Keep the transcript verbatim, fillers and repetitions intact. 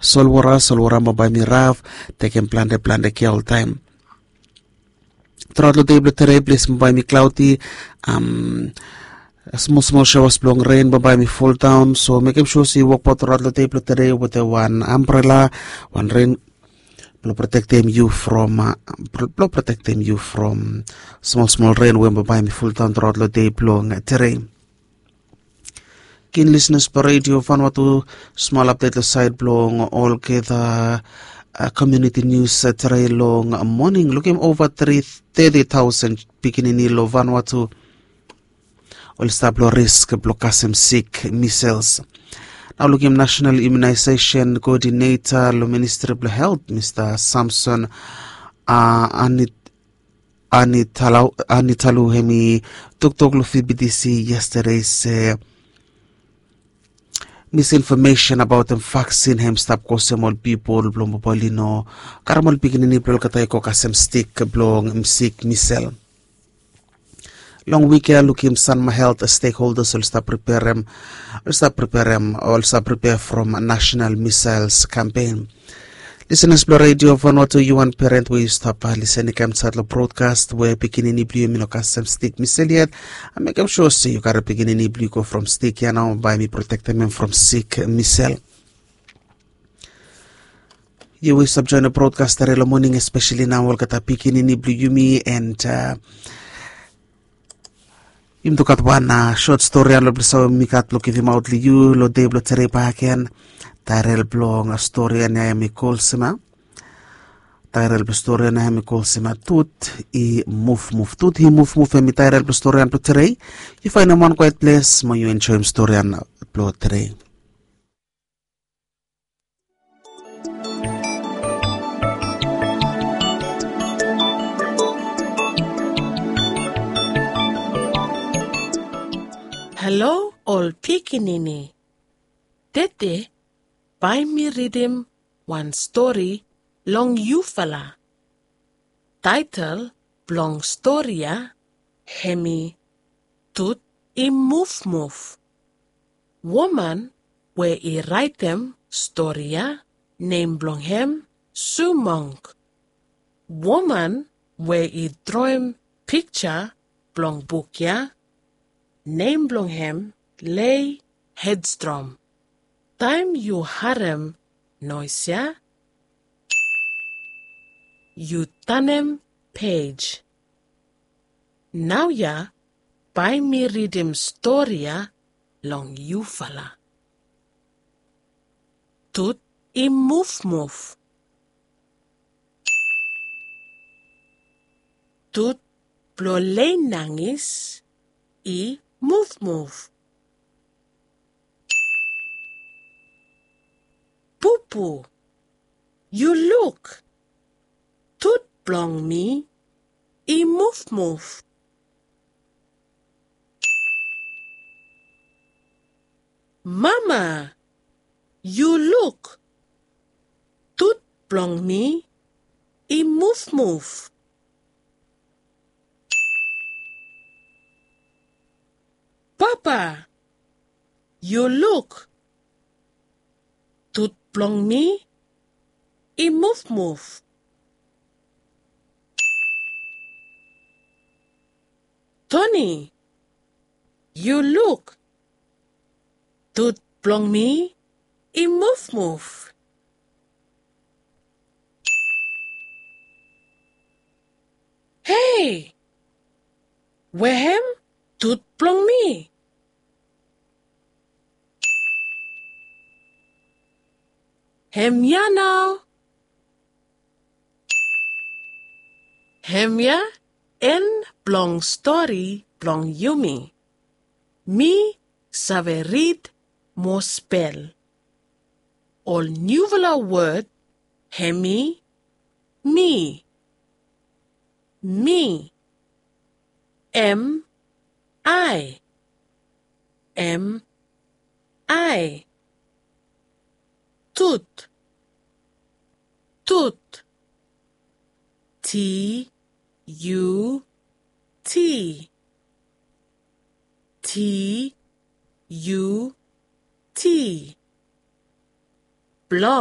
Solwora, solwora bambae mi raf, tekem plante plante kea oltaem. Turaot long dei blong tere ples bambae mi klaoti, am, smol smol shawas blong ren bambae mi foldaon. So mekem sua se yu wokbaot turaot long dei blong tere wetem wan ambrela, wan ren blong protektem yu from, blong protektem yu from smol smol ren we bambae mi foldaon turaot long dei blong tere. Kin lisenas blong redio Vanuatu, smol apdet long saed blong olgeta komuniti nius tere long moning. Lukim ova tri teti taosen pikinini long Vanuatu oli stap long risk blong kasem sik misels. Nao lukim nasenal imunaesesen koodineta long ministri blong helt, Mista Samson, a, anit anitalu hem i toktok long fibitisi yestade se misinfomesen abaotem vaksin hem i stap kosem ol pipol blong bobol i no karem ol pikinini blong olgeta i go kasem stik blong misik misel. Long wik ya lukim sanma helt stekholdas oli stap preperem oli stap preperem oli stap preper from nasenal misels kampen. Lisenas blong redio Vanuatu, yu wan peren we yu stap lisening kam sat long brodkas we pikinini blong yu hem i no kasem stik misel yet, mekem sua se yu karem pikinini blong yu go from stik ya nao bae mi protektem hem from sik misel. Yu we yu stap joen long brodkas tere long moning espeseli nao olgeta pikinini blong yumi and yumi tu gat wan sot stori ya long ples we mi gat blong givimaot long yu long dei blong tere baken. Taerel blong stori ya hem i kol sima taerel blong stori ya hem i kol sima tut i mufmuf tut i mufmuf hem i taerel blong stori ya blong tere. Yu faenem wan kwaet ples mo yu enjoem stori ya blong tere. Halo ol pikinini. Tede bae mi ridim wan stori long yufala. Taetel blong stori ya hem i tut i mufmuf. Woman we i raetem stori ya nem blong hem Sumong. Woman we i droem pikja blong buk ya nem blong hem Lei Hedstrom. Taem yu harem noes ya yu tanem pej. Naoia bae mi ridim stori ya long yufala. Tut i mufmuf. Tut blong Lei Nangis i mufmuf. Pupu, yu luk. Tut blong mi i mufmuf. Mama, yu luk. Tut blong mi i mufmuf. Papa, yu luk. Tut blong mi i mufmuf. Toni, yu luk. Tut blong mi i mufmuf. Hei, wehem tut blong mi. Hemia nao. Hemia en blong stori blong yumi. Mi save rid mo spel. Ol niufala wod hem i mi. Mi. M I. M I. Tut. Tut. T U T. T U T. Blong.